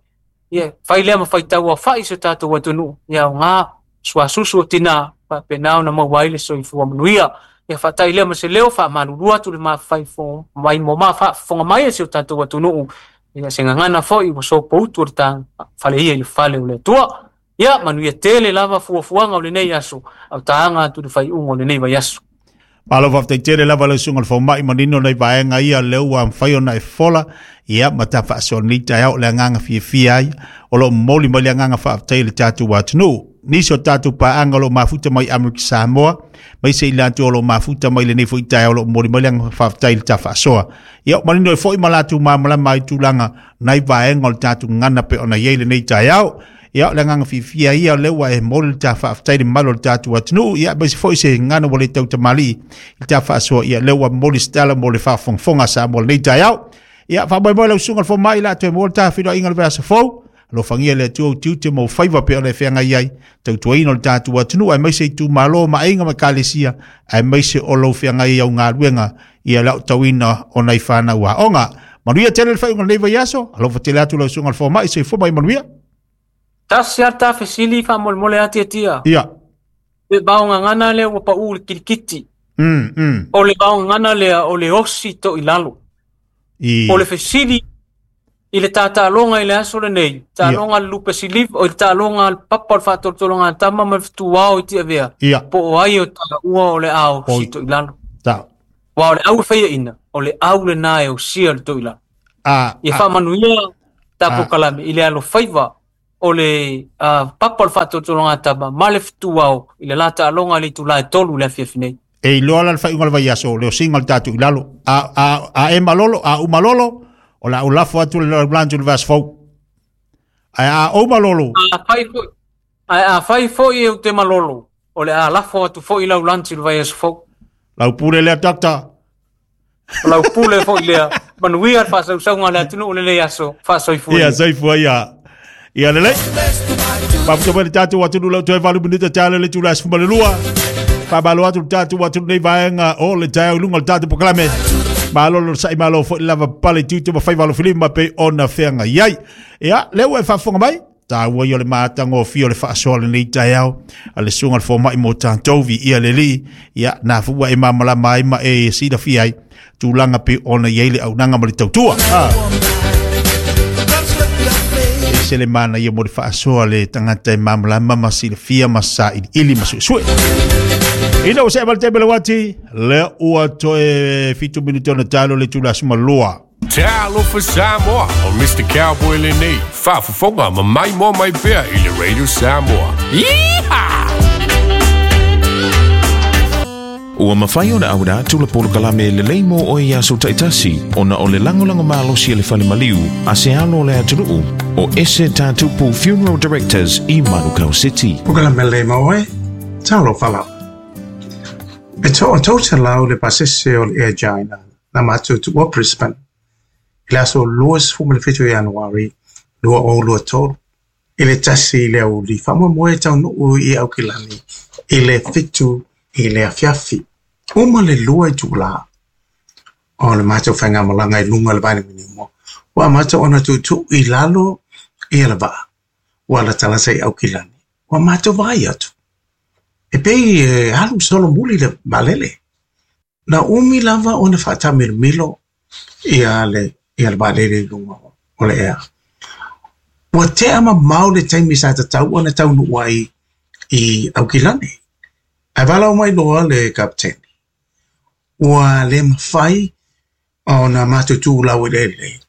Ia, fai lea ma faitau aofai si o tatou atunuu. Ia, aoga suasusu o tina, faapena ona maua ai le soifua manuia. Ia, faatai lea ma se leo, faamalulu atu le faafofoga mai e si o tatou atunuu. Ia, se gagana foi ua sopoutu o le fale ia i le fale o le Atua. Ia, manuia tele lava fuafuaga o lenei aso, au taaga atu le faaiuga o lenei vaiaso. Malo faafetai tele lava le susuga i le fomai manino nei vaega ia lea ua mafai ona e fola, ia ma ta faasoa lenei taeao le agaga fiafia ai o lo o momoli mai le agaga faafetai i le tatou atunuu. Nisi o tatou paaga o lo o mafuta mai Amerika Samoa, maise i latou o lo o mafuta mai lenei foi taeao o lo o momoli mai le agaga faafetai i le ta faasoa. Ia, manino ai foi ma latou malamalama ai tulaga nai vaega o le tatou gagana pe ona i ai lenei taeao. Ia, o le agaga fiafia ia lea ua e momoli le ta faafetai i le mamalu o le tatou atunuu. Ia, aemaise foi se gagana ua le tautamalii i le ta faasoa. Ia, lea ua momoli se tala mo le faafogafoga a Samoa lenei taeao. Ia, faamoemoe lau susuga i le fomai la toe maua le ta feiloaiga i le vaiaso fou. Alofagia le Atua utiute mo faiva pe ona e feagai ai, tautuaina o le tatou atunuu, aemaise itumalo ma aiga ma ekalesia, aemaise o lou feagai au galuega ia le aotauina o nai fanau aoga. Manuia tele le faaiuga o lenei vaiaso. Alofa tele atu lau susuga i le fomai, soifua ma ia manuia. Tasi lava ta fesili faamolemole ati atia. Ia. Le vaogagana lea ua pau i le kilikiti. O le vaogagana lea o le osi to i lalo. O le fesili i le tataloga i le aso lenei, taaloga le lupe siliva, o le taaloga le papa o le faatolotologa a tama ma le fetuao i Tiavea, po o ai o taua o le ao si to i lalo. Ua o le au e faiaina, o le au lena e osia le to i lalo. Ia faamanuia tapokalame i le alofaiva o le papa o le faatolotologa a tama ma le fetuao i le la taaloga i le itula e 3 le afiafi nei. E iloa la le faaiuga o le vaiaso, le osiga o le tatou i lalo. A e malolo, a u malolo, o le a ou lafo atu le laulantu i le vaiaso fou. Ae a ou malolo. Ae a fai foi e ou te malolo, o le a lafo atu foi lau lanti i le vaiaso fou. Lau pule lea, doctor. O lau pule foi lea. Manuia le faasausauga a le atunuu lenei aso. Faasoifua ia. Ia, soifua ia. Ia lelei. Mafuta mai le tatou atunuu lau toe 8 minute tala le itula e 12. Faamalo atu le tatou atunuu nei vaega o le taeao i luga o le tatou polokalame. Malo le onosai, malo foi le lava pale i tiute ma faiva alofilima pei ona feagai ai. Ia, lea ua e faafofoga mai, taua ia o le matagofie o le faasoa lenei taeao a le susuga i le fomai mo tatou, viia le Alii. Ia, na foi ua e malamalama ai ma e silafia ai tulaga pei ona i ai le auaunaga ma le tautua. ese le manaia mo le faasoa le tagata e malamalama ma silafia ma sailiili ma suesue. Ina ua seʻe mai le taimi o le uati, lea ua toe 7 minute ona talo le itula aso malua. Talofa Samoa, o Mr. Cowboy lenei, faafofoga ma maimoa mai pea i le Radio Samoa. Yeehaw! Ua mafai ona auina atu le polokalame lelei mo oe i aso taitasi ona o le lagolago malosi a le fale maliu a se alo o le atunuu o Ese Tatupu Funeral Directors i Manukau City. Polokalame lelei mo oe, talofa lava. E toa 300 le pasese o le Air China na matou tuua Brisbane i le aso 27 Ianuari 2023 i le 1 i le aoauli faamoemoe e taunuu i Aukilani i le 7 i le afiafi. Uma le 2 itulā o le matou faigamalaga i luga o le vailimanimo ua amata ona tuutuu i lalo ia le vaa ua latalata i Aukilani. Ua matou vaai atu e pei e alu solomuli le vaalele. Na umi lava ona faataamilomilo ia le vaalele i luga o le ea. Ua tea mamao le taimi sa tatau ona taunuu ai i Aukilani. Ae valaau mai loa le kapeteni. Ua le mafai ona matou tuulau eleele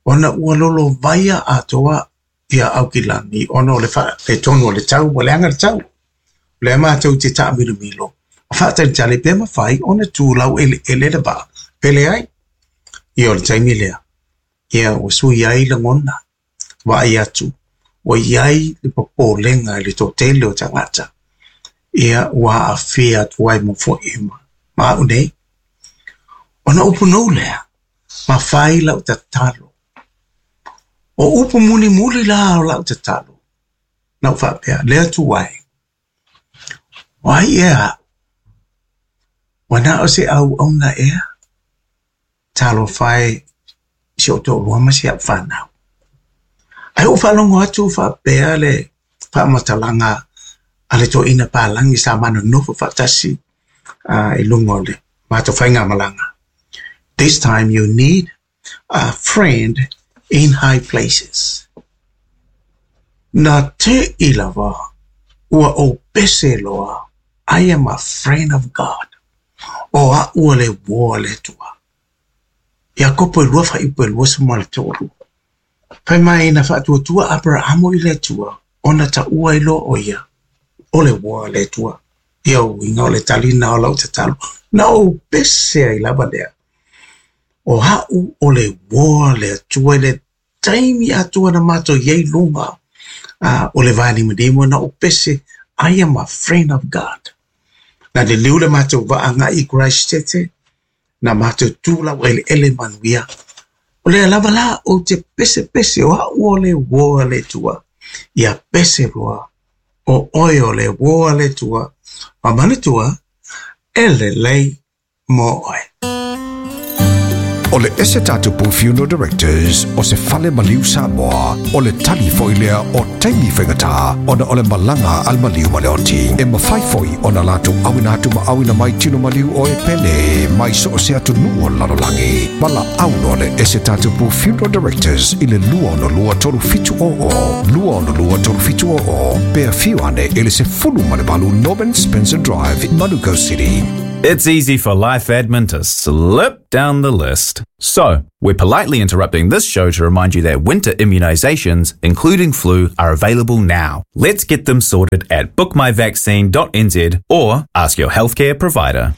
ona ua lolovaia atoa ia Aukilani ona o le faaletonu o le tau, ua leaga le tau. O lea matou te taamilomilo ma faatalitali pe mafai ona tuulau eleele le vaa pe leai. Ia o le taimi lea, ia ua sui ai lagona, vaai atu, ua i ai le popolega i le toatele o tagata. Ia ua aafia atu ai ma fo'i ma au nei. Ona upu nou lea, ma fai lau tatalo. O upu mulimuli la o lau tatalo. Na ou faapea, le Atua e, o ai ea a'u? Ua na o se auauna ea? Talofa e i si ou toalua ma si au fanau. Ae ou faalogo atu faapea le faamatalaga a le toeaina palagi sa ma nonofo faatasi i luga o le matou faigamalaga. This time you need a friend in high places. Na te i lava ua ou pese loa, I am a friend of God. O a'u o le uō a le Atua. Iakopo e 2 fuaiupu e 23. Fai mai na faatuatua Aperahamo i le Atua ona taua ai loa o ia o le uō a le Atua. Ia uiga o le talina o lau tatalo. Na ou pese ai lava lea. O a'u o le uō a le Atua i le taimi atoa na matou i ai luga o le vailimanimo na ou pese I am a friend of God. Na liliu le matou vaa agai i Christchurch na matou tuulau eleele manuia. O lea lava la ou te pesepese o a'u o le uō a le Atua. Ia pese loa o oe o le uō a le Atua. Ma manatua e lelei mo oe. O le Ese Tatupu Funeral Directors o se fale maliu Samoa, o le tali foi lea o taimi faigata ona o le malaga a le maliu ma le oti. E mafai foi ona latou auina atu ma auina mai tino maliu o e pele mai so o se atunuu o le lalolagi. Valaau loa le Ese Tatupu Funeral Directors i le 262 3700, 262 3700, pe afio ane i le 18 Norman Spencer Drive, Manukau City. It's easy for life admin to slip down the list. So, we're politely interrupting this show to remind you that winter immunizations, including flu, are available now. Let's get them sorted at bookmyvaccine.nz or ask your healthcare provider.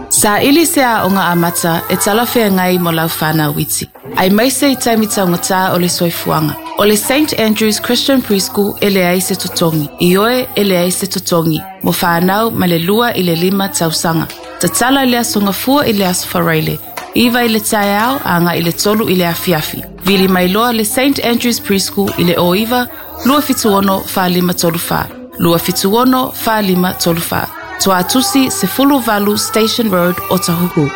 Saili se aoga amata e talafeagai mo lau fanau iti. Aemaise i taimi taugata o le soifuaga. O le St Andrews Christian Preschool e leai se totogi. Ioe e leai se totogi. Mo fanau mai le 2 i le 5 tausaga. Tatala i le Aso Gafua i le Aso Faraile. 9 i le taeao agai i le 3 i le afiafi. Vili mai loa le St Andrews Preschool i le 09 276 4534. 276 4534. Tuatusi 18 Station Road, Otahuhu.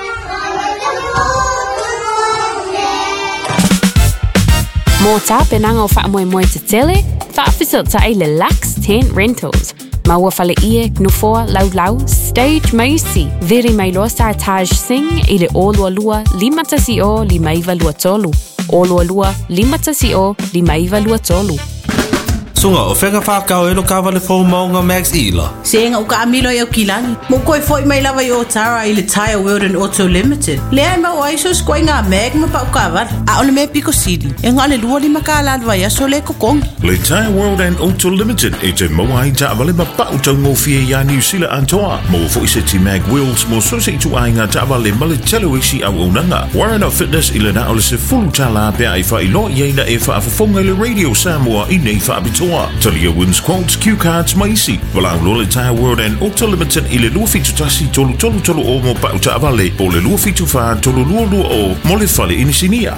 Mō tapenaga o faamoemoe tetele, faafesootai le Lux Tent Rentals. Maua fale ie, nofoa, laulau, stage maisi. Vere mai loa sa Taj Singh i le 022 510 5923. 022 510 5923. Sunga o whenga whakau e lo kawale fō maunga Max Ila. Se nga uka amilo i au kilani. Mo koe foi mai lava i o tara i le Tire World and Auto Limited. Lea e mau ai so skoi ngā mag ma pau kawara. A ole me piko sili. E ngā le lua lima ka la vai aso le kokongi. Le Tire World and Auto Limited e te maua ai taavale ma pau taugofie iā Niu Sila atoa. Maua fo'i se ti mag wheels mo so se ituaiga taavale ma le tele o isi auaunaga. Warren Fitness i le na o le $10 pe a e faailoa i ai na e faafofoga i le Radio Samoa i nei faapitoa. Talia wins quotes, cue cards ma isi. Valaau loa le Tire World and Auto Limited i le 271 333 o mo pau taavale po le 274 322 mo le fale inisinia.